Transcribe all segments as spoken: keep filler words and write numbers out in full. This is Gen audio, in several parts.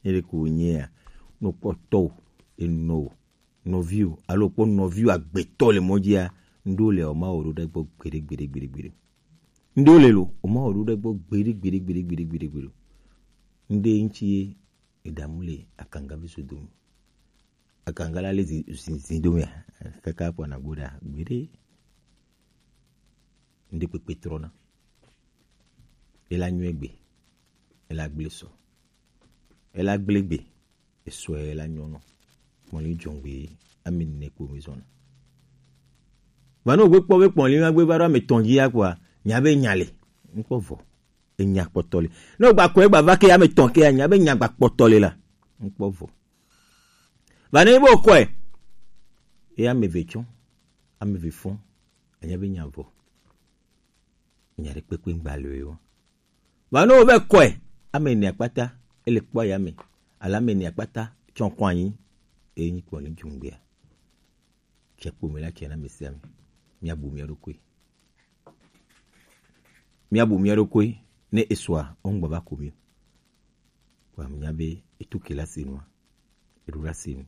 Ele ko nyea, no kpɔtɔ o, enɔ o, nɔvi o, alo kpɔ nɔvi o agbetɔ le mɔ dzia, ŋɖo le o ma o ɖo ɖe gbɔ gbeɖe gbeɖe gbeɖe gbeɖe. Ŋɖo le lo, o ma o ɖo ɖe gbɔ gbeɖe gbeɖe gbeɖe gbeɖe gbeɖe gbeɖe. Ŋɖe ŋtsi ye edamu le akanga vi so dome. Akanga la le zi zi zi dome. Kaka kpɔ na gbo ɖa gbeɖe. Ŋɖe kpekpe trɔna. Ela nyuie gbe. Ela gble sɔ. Ela gble gbe. Esɔe la nyɔnɔ. Kpɔnli jɔngbe ame ne kpo mi zɔna. Vano gbe kpɔ be kpɔnli ma gbe va ɖo ame tɔn dzi ya kpoa, nya be nya le. Ŋkpɔ vɔ. Enya kpɔtɔ le. Ne gba kɔe gba va ke ame tɔn ke nya be nya gba kpɔtɔ le la. Ŋkpɔ vɔ. Vano bo kɔe. E ame ve tsɔ. Ame ve fɔn. Anya be nya vɔ. Nya ɖe kpekpe ŋgba le o. Vɔ ne wovɛ kɔe, ame ene akpata, ele kpɔ ya me, alo ame ene akpata tsɔ kɔ anyi, eye nyi kpɔ ni dzungbea. Tse kpome la tse na ame sia ame. Míabu mía ɖokui. Míabu mía ɖokui, ne esɔa, wo ŋgbɔ va ko mí o. Kpɔ ame nya be etu ke la se nua, eɖo la se nu.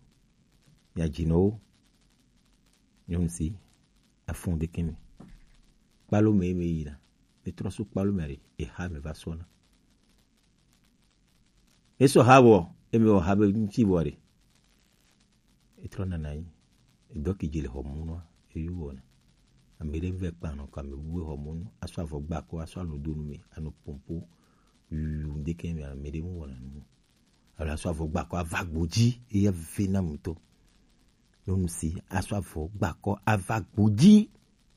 Mía dzinɔwo, nyɔnu si, afɔn ɖeke me. Kpalo me me yina. Etrɔ so kpalo me aɖe, eha me va sɔna. Esɔ ha vɔ, eme wɔ ha be ŋuti vɔ ɖe. Etrɔ nana anyi. Edɔ ke dzi le xɔ mu nɔa, eyo wɔna. Ame ɖe vɛ kpa nɔ kɔ ame bu xɔ mu nɔ, asɔ avɔ gba kɔ, asɔ alo do nu me, anɔ pompo, yuyu ŋdeke me, ame ɖe mu wɔna nu. Alo asɔ avɔ gba kɔ ava gbodzi, eya ve na mutɔ. Nyɔnu si asɔ avɔ gba kɔ ava gbodzi.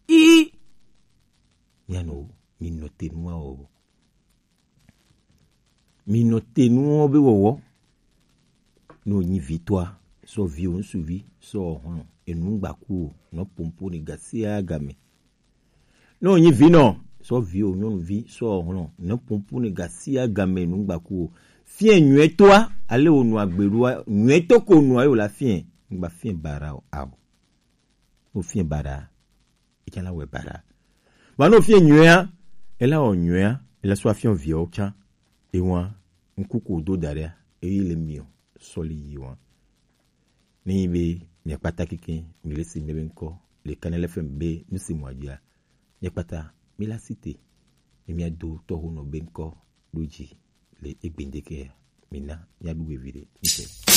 I. Mianɔ, minɔ te nua o. Minɔ te nuwo be wɔwɔ. Ne wònyi vitɔa, sɔ viwò ŋsuvi, sɔ hlɔ̃, enu ŋgbaku o, nɔ pompo ne gasia game. Ne wònyi vinɔ, sɔ viwò nyɔnuvi, sɔ hlɔ̃, nɔ pompo ne gasia game, enu ŋgbaku o. Fiɛ nyuietɔa, ale wònɔ agbe ɖoa, nyuietɔ ko nɔa ye wòle afiɛ, ŋgba fiɛ baɖa o, ao. Ne wòfiɛ baɖa, etsã la wɔe baɖa. Vɔ ne wòfiɛ nyuiea, ela wɔ nyuiea, ela sɔ afiɔ viawo tsã. Ewa, ŋku ko do da ɖea, eyi le miɔ, sɔli yi wa. Ne yi be miakpata keke, mi le si mi be ŋkɔ, le Kanel F M be nu si mɔ adzia, miakpata, mi la si te, mi mia do tɔho nɔ be ŋkɔ, ɖo dzi, le egbe ŋdeke ya, mi na, mia ɖu vevi ɖe, mi te.